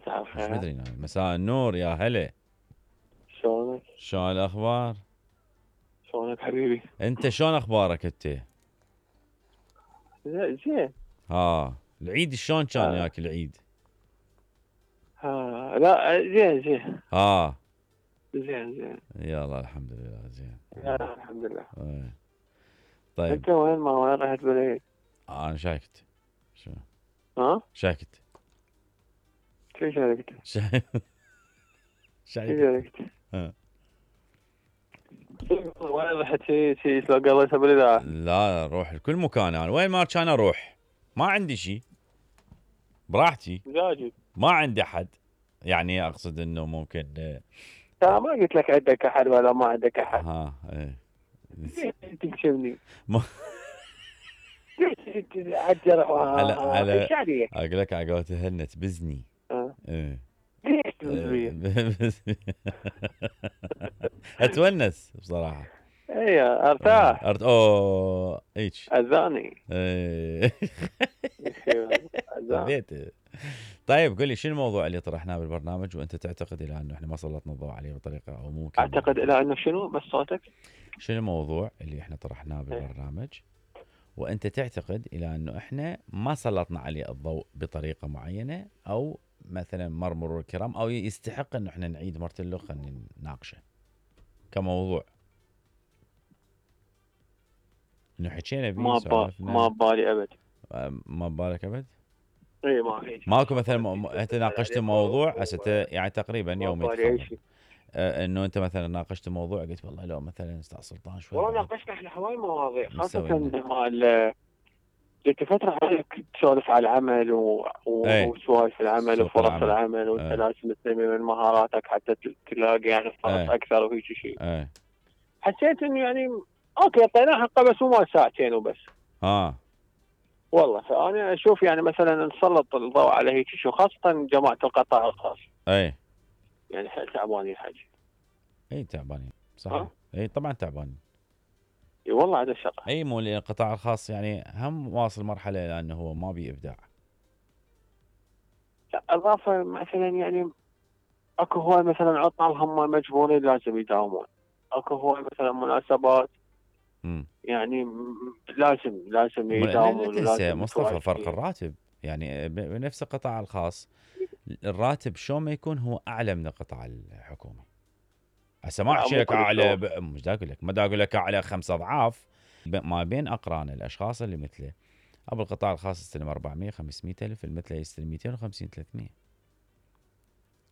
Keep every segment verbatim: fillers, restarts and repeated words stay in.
مساء مش الخير. مدري نايم. مساء النور يا هلا. شلونك؟ شلون الاخبار؟ شلونك حبيبي؟ انت شلون اخبارك انت؟ زين زين. ها العيد شلون كان آه. وياك العيد؟ ها لا زين زين ها زين زين. يلا الحمد لله زين. لا الحمد لله. ايه. طيب انت وين ما وين رحت بالعيد؟ انا شاكت. شو ها؟ شاكت شو شاركت؟ شا- شو شاكت. شاركت؟ ها. وين رحت شي شي شلون قضيتها بالاذاعه؟ لا روح لكل مكان انا وين ما كان اروح ما عندي شيء براحتي مجاجد. ما عندي احد يعني اقصد انه ممكن انا ما قلت لك عندك احد ولا ما عندك احد. ها ايه تكشفني. ما- عالجرح على على ايش عليك؟ اقول لك على قولته هلنا تبزني. ها؟ ايه ليش تبزني؟ اتونس بصراحه. اي ارتاح. ارت اوه هيك اذاني. ايه اذاني. بيت. طيب قل لي شو الموضوع اللي طرحناه بالبرنامج وانت تعتقد الى انه احنا ما سلطنا الضوء عليه بطريقه او ممكن اعتقد الى انه شنو بس صوتك؟ شنو الموضوع اللي احنا طرحناه بالبرنامج وانت تعتقد الى انه احنا ما سلطنا عليه الضوء بطريقه معينه او مثلا مر مرور الكرام او يستحق انه احنا نعيد مرة له خلينا نناقشه كموضوع انه حكينا بيه ما با ما ببالي ابد. ما ببالك ابد؟ اي ما هيك ماكو مثلا م... انت ناقشت موضوع هسه يعني تقريبا يوم يتخرج آه انه انت مثلا ناقشت موضوع قلت والله لو مثلا استاذ سلطان شوي والله ناقشنا احنا هواي مواضيع خاصة مسوينا. مال جيت فترة عليك تسولف على العمل و... و... اي. وسوالف العمل سوق وفرص العمل. العمل وانت اي. لازم تنمي من مهاراتك حتى ت- تلاقي يعني فرص اي. اكثر وهيك شيء. اي. حسيت انه يعني اوكي اعطيناه حقه بس مو مال ساعتين وبس. ها والله فانا اشوف يعني مثلا نسلط الضوء على هيك شيء خاصة جماعة القطاع الخاص. اي. يعني حيل تعبانين الحكي. اي تعبانين صح. ها؟ اي طبعا تعبانين. اي والله هذا الشغله. اي مو القطاع الخاص يعني هم واصل مرحله لانه هو ما بي ابداع. لا اضافه مثلا يعني اكو هواي مثلا عطل هم مجبورين لازم يداومون. اكو هواي مثلا مناسبات امم يعني لازم لازم يداومون. لا تنسى لازم مصطفى فرق الراتب يعني بنفس القطاع الخاص الراتب شلون ما يكون هو اعلى من القطاع الحكومي. هسه ما احكي لك اعلى ب... مش دا اقول لك ما دا اقول لك اعلى خمس اضعاف ما بين اقرانه الاشخاص اللي مثله. ابو القطاع الخاص يستلم أربعمية خمسمية الف المثله يستلم مئتين وخمسين ثلاثمية.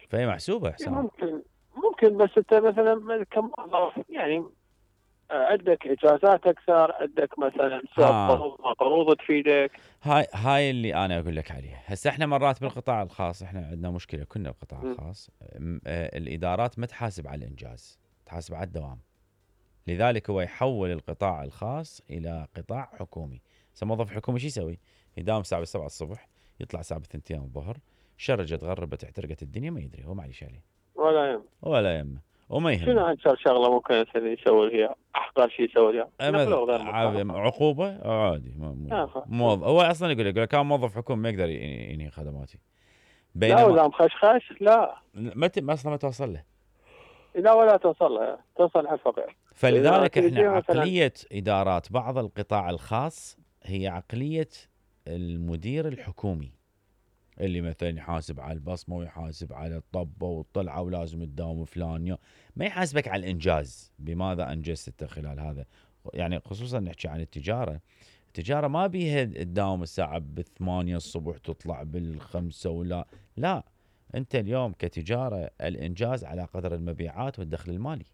فهي محسوبه حسام. ممكن ممكن بس انت مثلا كم يعني عندك اجازات اكثر عندك مثلا قروض قروض تفيدك. هاي هاي اللي انا اقول لك عليها. هسه احنا مرات بالقطاع الخاص احنا عندنا مشكله كنا القطاع الخاص الادارات ما تحاسب على الانجاز تحاسب على الدوام. لذلك هو يحول القطاع الخاص الى قطاع حكومي. هسه موظف حكومي شو يسوي؟ يداوم الساعه سبعة الصبح يطلع الساعه اثنتين الظهر شرجت غربت احترقت الدنيا ما يدري هو ما عليه عليه ولا يهم ولا يهمه وما يهمه. شنو اكثر شغله ممكن يسوي فيها احقر شيء يسوي فيها؟ عقوبه عادي موظف هو اصلا يقول لك كان موظف حكومي ما يقدر ينهي خدماتي. لا ولا مخشخش لا ما اصلا ما توصل له. لا ولا توصل له توصل على الفقير. فلذلك احنا عقليه ادارات بعض القطاع الخاص هي عقليه المدير الحكومي اللي مثلا يحاسب على البصمه ويحاسب على الطبه والطلعه ولازم تداوم فلان يوم ما يحاسبك على الانجاز بماذا انجزت خلال هذا. يعني خصوصا نحكي عن التجاره. التجاره ما بيها تداوم الساعه بالثمانية الصبح تطلع بالخمسة ولا لا. انت اليوم كتجاره الانجاز على قدر المبيعات والدخل المالي.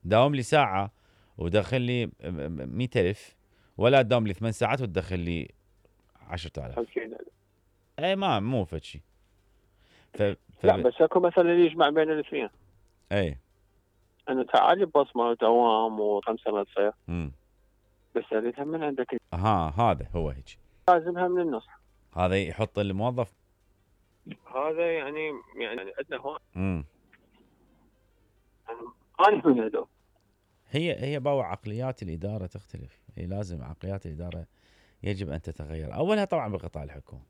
داوم لي ساعه ودخل لي مئة ألف ولا تداوم لي ثمان ساعات وتدخل لي عشرة آلاف. اي ما مو فد شيء. ف... ف... لا بس اكو مثلا يجمع بين الاثنين. اي انه تعالي ببصمه ودوام وخمسه ما تصير. امم بس اريدها من عندك. ها هذا هو هيك. لازمها من النص. هذا يحط الموظف. هذا يعني يعني عندنا هون. امم انا من هذول. هي هي باو عقليات الاداره تختلف. هي لازم عقليات الاداره يجب ان تتغير. اولها طبعا بالقطاع الحكومي.